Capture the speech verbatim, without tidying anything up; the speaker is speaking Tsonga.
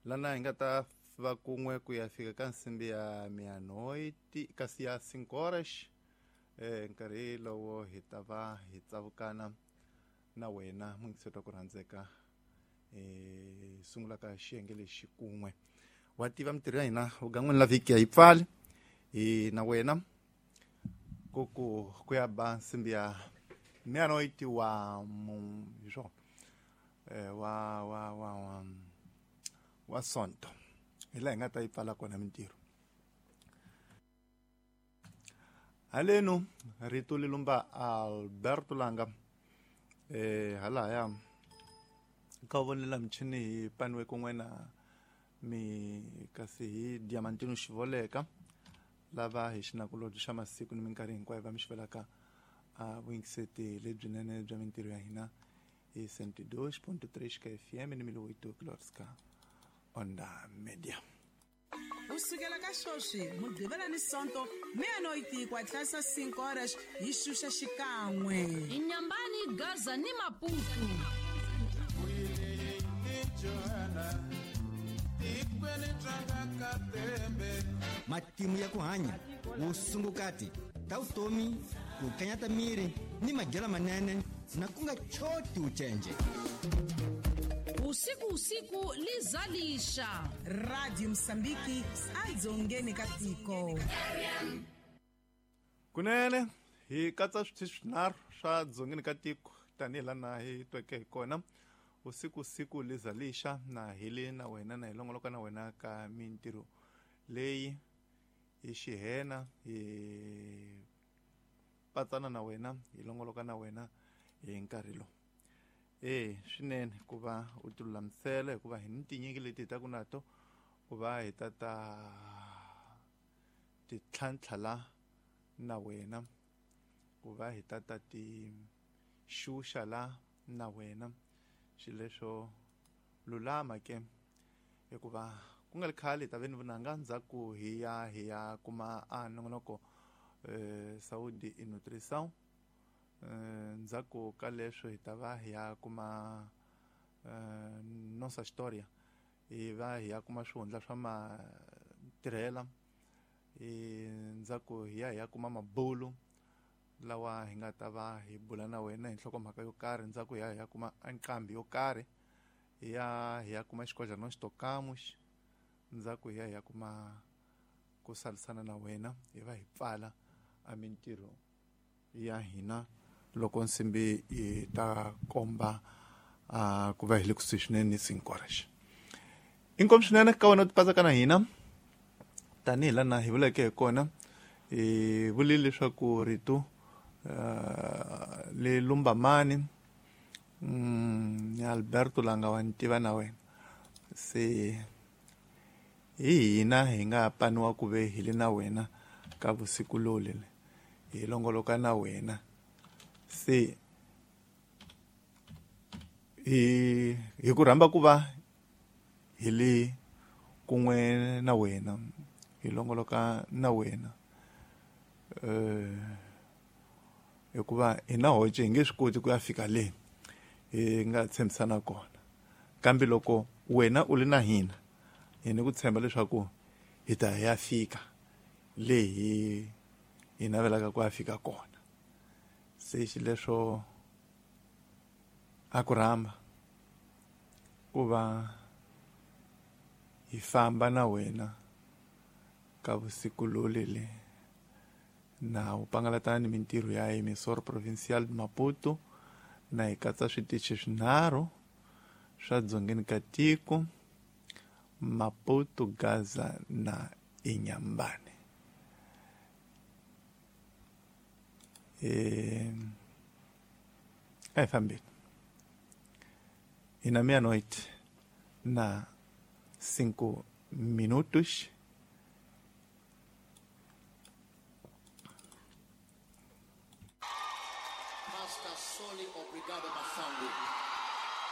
Lana hi nga ta va kun'we ku ya fika ka nsimbi ya meia-noite kasi ya cinco horas eh nkarhi lowo hi ta va hi tsavukana na wena muyingiseri wa ku rhandzeka eh sungula ka xiyenge lexi kun'we wa tiva mintirho ya hina vugan'wini la vhiki ya yi pfali hi na wena ku ku ku ya ba nsimbi ya meia-noite wa hi swona eh wa wa wa wa wa sonto hi laha hi nga ta yi pfala kona mintirho haleno rito li lumba Alberto Langa eh halaya ka vonela michini hi paniwe kun'we na mi kasi hi Diamantino Xivoleka lava hi xinakulobye xa masiku ni minkarhi hinkwayo va mi xivelaka a vuyingiseti lebyinene bya mintirho ya hina hi cento e dois ponto três ka F M ni mil oito kilohertz Onda Media. Usukela ka sweswi mugqivela ni sonto meia-noite ku hatlisa cinco horas hi xuxa xikan'we Inyambani, Gaza ni Maputo. Matimu ya ku hanya vusungukati ta vutomi ku kanyata miri ni madyelo manene na ku nga choti ucenje. Usiku usiku lizalisha Radio Msambiki adzongeni ka tiko. Kunene hi katsa switichi swinharhu swa dzongeni ka tiko tanihi lana hi tweke hi kona usiku usiku lizalisha na hi le na wena na hi longoloka na wena ka mintirho leyi hi xihena hi patsana na wena hi longoloka na wena hi nkarhi lowu. Eh swinene ku va u tilulamisela hikuva hi ni tinyiki leti hi taku nato ku va hi ta ta ti tlhantlha la na wena ku va hi ta ta ti xuxa la na wena xileswo lulama ke hikuva ku nga ri khale hi ta ve ni vunanga ndzhaku hi ya hi ya kuma a nongonoko eh Saúde e Nutrição. Ndzhaku ka leswo hi ta va hi ya kuma Nossa História hi va hi ya kuma swihundla swa matirhela ndzhaku hi ya hi ya kuma mabulu lawa hi nga ta va hi bula na wena hi nhlokomhaka yo karhi ndzhaku hi ya hi ya kuma nqambi yo karhi hi ya hi ya kuma xikodla no xitokamuxi ndzhaku hi ya hi ya kuma ku salisana na wena hi va hi pfala a mintirho ya hina loko nsimbi yi ta komba uh, ku va hi le kusuhi swinene ni cinco horas. Inkomu swinene ka wena u tipatsaka na hina tanihi lana hi vuleke hi kona hi vulile leswaku rito uh, le lumba mani mm, Alberto Langa wa ni tiva na wena se hi hina hi nga paniwa ku ve hi le na wena ka vusiku lolele hi longoloka na wena se hi hi ku rhamba ku va hi le kun'we na wena hi longoloka na wena eh hikuva hi na hoce hi nge swi koti ku ya fika le hi nga tshembisana kona kambe loko wena u le na hina hi ni ku tshemba leswaku hi ta ya fika le hi hi navelaka ku ya fika kona se xileswo a ku rhamba ku va hi famba na wena ka vusiku lolele na u pangalatana ni mintirho ya Emissora Provincial de Maputo na hi katsa switichi swinharhu swa dzongeni ka tiko Maputo, Gaza na Inhambane. Eh, a hi fambeni hi na meia-noite na cinco minutos.